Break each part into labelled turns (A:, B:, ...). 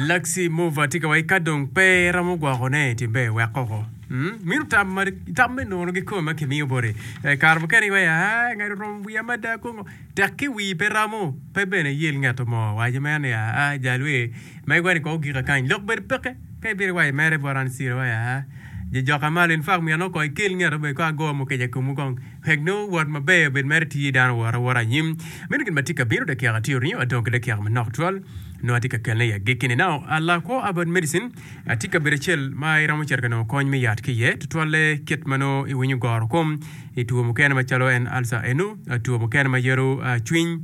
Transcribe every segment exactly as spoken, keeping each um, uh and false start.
A: Laxi Mova tye ka wai ka dong pe iromo gwokone timbe wek koko. Mm? Mino tam ma tam me nono kikome ma kimiyo boti. Eh, kare mukene iwaco ah ngat oromo wiya mada kongo. Tek ki wii pe romo, pe bene iyel ngat mo. Waco mere ni ah jal we megwa ni kong ogika kany. Lok bedo peke. Ka ibino iwaco mere bot an ciro iwaco ah jojoka malo in fact myero nongo kong ikel ngat bene kong ago mukica i komu kong. Wek nongo wot maber obed mere tye dano wot awota anyim. Meno gin ma tye ka bino dakika tye oringo adong ki dakika manok tutwal. Nongo atye ka kelone i agikki-ni. Now, lakwo about medicine tye kabedo acel ma iromo cito ka nongo kony me yat ki iye, tutwalle kit ma nongo iwinyo goro kom i two mukene macalo en ulcer enu, two mukene ma yelo cwiny,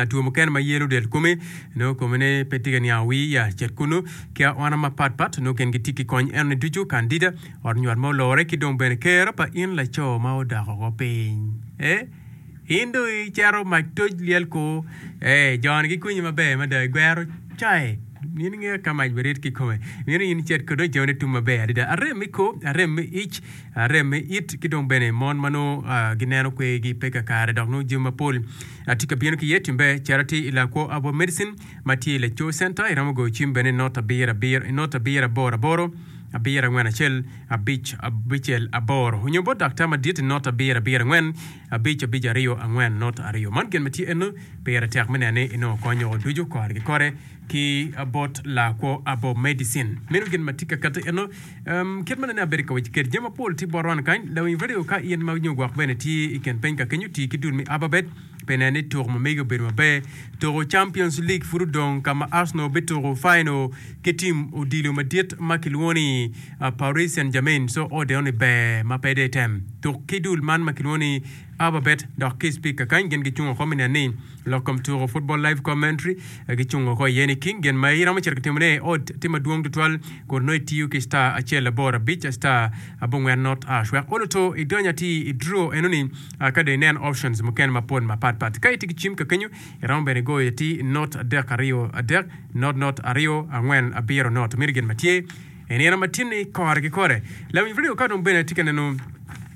A: two mukene ma yelo del komi, nongo komine pe tye ka niango wii ya cit kunu ki aona mapat pat nongo gin gitye ki kony enoni ducu, candida, ot nywat ma olore ki dong bene kero pa in laco ma odok oko piny. Eh. In dong icito mac toc lyel kur. Ee, jo-ni gikwinyi maber mada, igwero cayi. In ingeyo ka mac birit kikome. Mito in icit kwede dong ijone tum maber adada. Arem me kor, arem me ic, arem me it, ki dong bene mon ma nongo gineno kwergi pe kakare dok nongo jami mapol tye ka bino ki iye. Timbe cito atir i Lakwo Herbal Medicine ma tye i Laco Center. Iromo goyo cim bene i not abiro abiro, not abiro aboro aboro, abiro angwen acel, abic abicel aboro. Onyo bot daktar madit i not abiro abiro angwen, abic abic aryo angwen not aryo. Man gin ma tye eno, pire tek me neno ni inongo kony woko ducu kore ki kore ki bot lakwo abo medicine. Meno gin ma tye ka kati eno. Um, kit ma nene abedo ka waco kede jami mapol tye bot wan kany. Lawiny radio ka in ma nyo gwok bene tye i kin piny ka kenyo ti ki dul me Ababet pi neno ni tuko ma megi obedo maber. Tuko Champions League pud odong ka ma Arsenal bituko final ki tim odilo madit ma kilwongo ni Paris Saint-Germain so odeo ni ber ma pe de tem. Tuk ki dul man ma kilwongo ni Ababet dok ki speaker kany gin gicung oko me neno ni lok kom tuko football live commentary gicung oko iye ni king gin ma iromo cito ka timone i ot tye madwong tutwal kun nongo itiyo ki star acel aboro abic star abongwen not hash wek olo to idony atir i draw enoni ka dong inen options mukene mapol mapat pat. Ka itye ki cim ka kenyo iromo bene goyo atir not adek aryo adek not not aryo angwen abiro not meno gin ma tye i nino ma tye-ni kore ki kore. Lawiny radio ka dong bene atye ka neno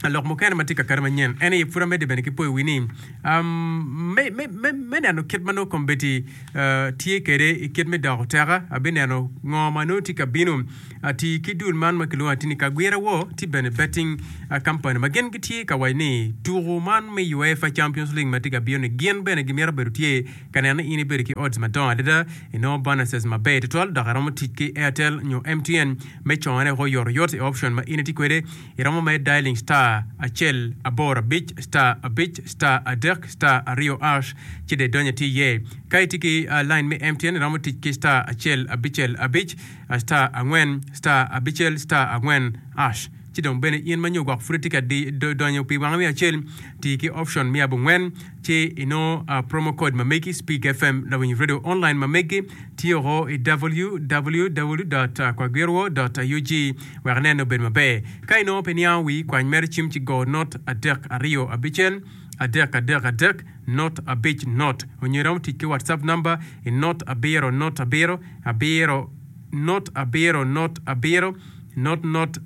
A: lok mukene ma tye ka kati manyen en aye pud amedde bene ki poyo wi ni um, me, me, me, me neno kit ma nongo kombeddi uh, tye kwede i kit me doko oteka abineno ngo ma nongo tye ka bino ati ki dul man ma kilwongo ati ni Kagwira War tye bene betting uh, company ma gin gitye ka waco ni tuku man me UEFA Champions League ma tye ka bino ni gin bene gimito bedo tye ka neno ni in ibedo ki odds madongo adada inongo bonuses maber tutwal dok iromo tic ki Airtel nyo M T N me cone woko oyotoyot i option ma in itye kwede. Iromo me dialing star acel aboro abic star abic star adek star aryo hash ci dong idonyo atir iye. Ka itye ki uh, line me M T N iromo tic ki star acel abicel abic uh, star angwen star abicel star angwen hash. Ci dong bene in ma nyo gwok pud itye ka di- do- donyo pi wange me acel ti ki option me abongwen ci inongo uh, promo code ma megi Speak F M Lawiny Radio online ma megi tye oko i w w w kwagirwo ug wek inene obed maber. Ka inongo pe niango wi kwany mere cim ci go not adek aryo abicel adek adek adek not abic not onyo iromo tic ki WhatsApp number i not abiro not abiro abiro not abiro not abiro not not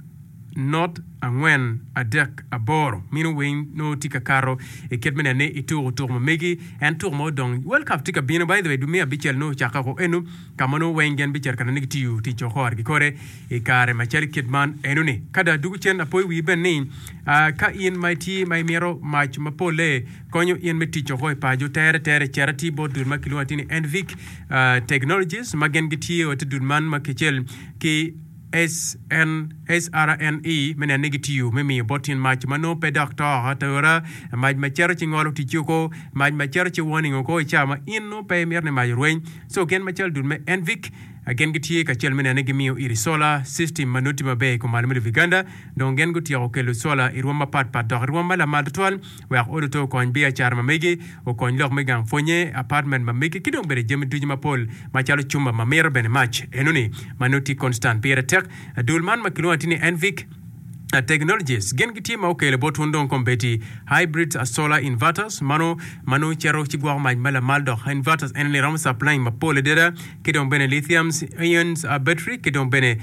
A: not angwen adek aboro. Mino weng nongo tye ka kato i kit me neno ni ituko tuko ma megi en tuko ma odong World Cup tye ka bino. By the way, dwe me abicel nongo ocakke oko eno ka ma nongo weng gin bicito ka neno ni gitiyo tic kore ki kore i kare macalo kit man enoni. Ka dong adugo cen apoyo wii bene ni uh, ka in ma itye ma imito mac mapole konyo in me tic oko i paco tere tere cito atir bot dul ma kilwongo atir ni Envic uh, Technologies ma gin gitiyo ite dul man ma kicel ki S N S R N E me neno ni gitiyo me miyo bot tin mac ma nongo pe dok to atura mac ma cito ci ngolo tic oko mac ma cito ci warning oko i cawa ma in nongo pe imito ni mac orweny. So gin macalo dul me Envic gin gitye kacel me neno ni gimiyo iri solar system ma nongo tye maber i kom malo me lobo Uganda. Dong gin gutyeko kelo solar i rwom mapat pat dok i rwom ma lamal tutwal wek olo to okony biacara ma megi okony lok me gang pwonye apartment ma megi ki dong bene jami ducu mapol macalo cumba ma mito bene mac enoni ma nongo tye constant. Pire tek dul man ma kilwongo atir ni Envic Technologies gin gitye ma okelo bot wun dong kombeddi hybrid solar inverters mano ma nongo cito ci gwoko mac ma lamal dok inverters ene ni romo supplying mapol adada ki dong bene lithium ion battery ki dong bene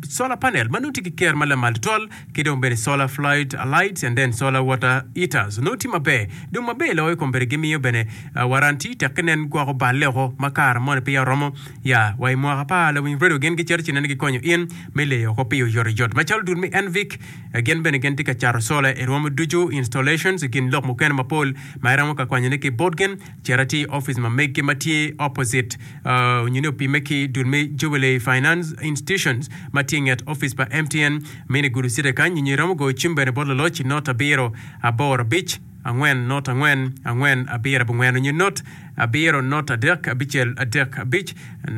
A: solar panel ma nongo tye ki ker ma lamal tutwal ki dong bene solar flood lights and then solar water heaters nongo tye maber dong maber loyo kombeddi gimiyo bene warranty tek ki nen gwoko balle woko ma kare moni peya oromo ya wa i mwaka apar lawiny radio gin gicito ci nene gikonyo in me leyo woko pi oyotoyot macalo dul me Envic gin bene gin tye ka cato solar i rwom ducu installations i kin lok mukene mapol ma iromo ka kwanyone ki bot gin cito tye i opic ma meggi ma tye opposite nyo ni opime ki dul me Jubilee Finance Institutions ma tye i nget opic pa M T N mini gudo city kany nyo iromo goyo cim bene bot laloc i not abiro aboro abic angwen not angwen angwen abiro abongwen nyo not abiro not adek abicel adek abic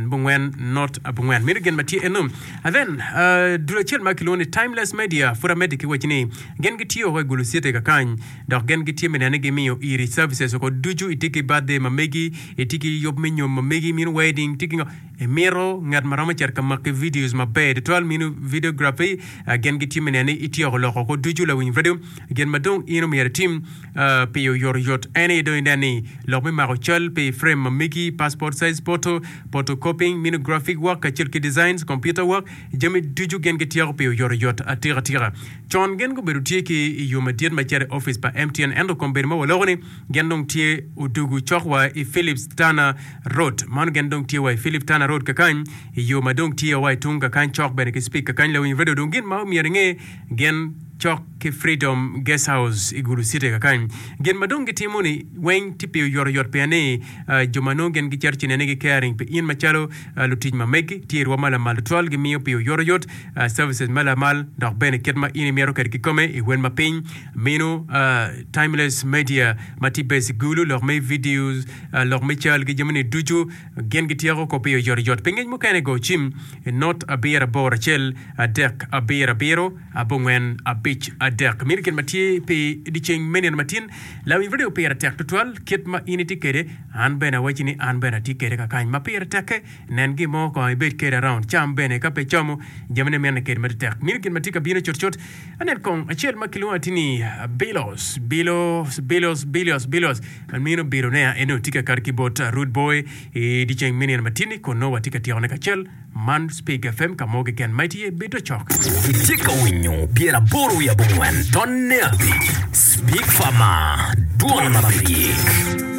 A: bongwen not abongwen meno gin ma tye eno. And then uh, dul acel ma kilwongo ni Timeless Media pud amedde ki waci ni gin gitiyo woko i Gulu City kakany dok gin gitye me nene gimiyo iri services oko ducu itye ki birthday ma megi itye ki yub me nyom ma megi mino wedding tye ki ngo imito ngat ma romo cito ka maki videos maber tutwal mino videography uh, gin gitye me nene ityeko loko oko ducu lawiny radio gin ma dong in omyero itim uh, pi oyotoyot en aye dong inen ni lok me mako cal pi frame ma megi passport size photo photocopying mino graphic work kacel ki designs computer work jami ducu gin gityeko pi oyotoyot atika tika con gin gubedo tye ki i yo madit ma cito i office pa M T N ento kombeddi ma waloko ni gin dong tye odugu cok wa i Philips Tana Road mano gin dong tye wa i Philip Tana Road kakany i yo ma dong tye wa i tung kakany cok bene ki speak kakany lawiny radio dong gin ma omyero inge gin cok ki Freedom Guest House i Gulu City kakany gin ma dong gitimo ni weng tye pi oyotoyot pien ni uh, jo ma nongo gin gicito ci nene gi caring pi in macalo uh, lutic ma megi tye i rwom ma lamal tutwal gimiyo pi oyotoyot uh, services ma lamal dok bene kit ma in imito kwede kikome i wen ma piny mino uh, Timeless Media ma tye base i Gulu lok me videos uh, lok me cal ki jamini ducu gin gityeko ko pi oyotoyot pi ngec mukene go cim not abiro aboro acel adek abiro abiro abongwen abic adek mino gin ma tye pi dyeceng me nino matin lawiny radio pire tek tutwal kit ma in itye kwede an bene awaci ni an bene atye kwede kakany ma pire tekke nen gin mo kong ibed kwede around cam bene ka pe camo jamine mine kede matek mino gin ma tye ka bino cutcut anen kong acel ma kilwongo ati ni bilos bilos bilos bilos bilos mino bilonea eno tye ka kato ki bot Rude Boy i dyeceng me nino matin kun nongo watye ka tyekone kacel man Speak F M ka mo keken ma itye bedo cok.
B: Itye ka winyo pyeraboro wiye abongwen tonne abic Speak Farmer, dwon ma pe yik.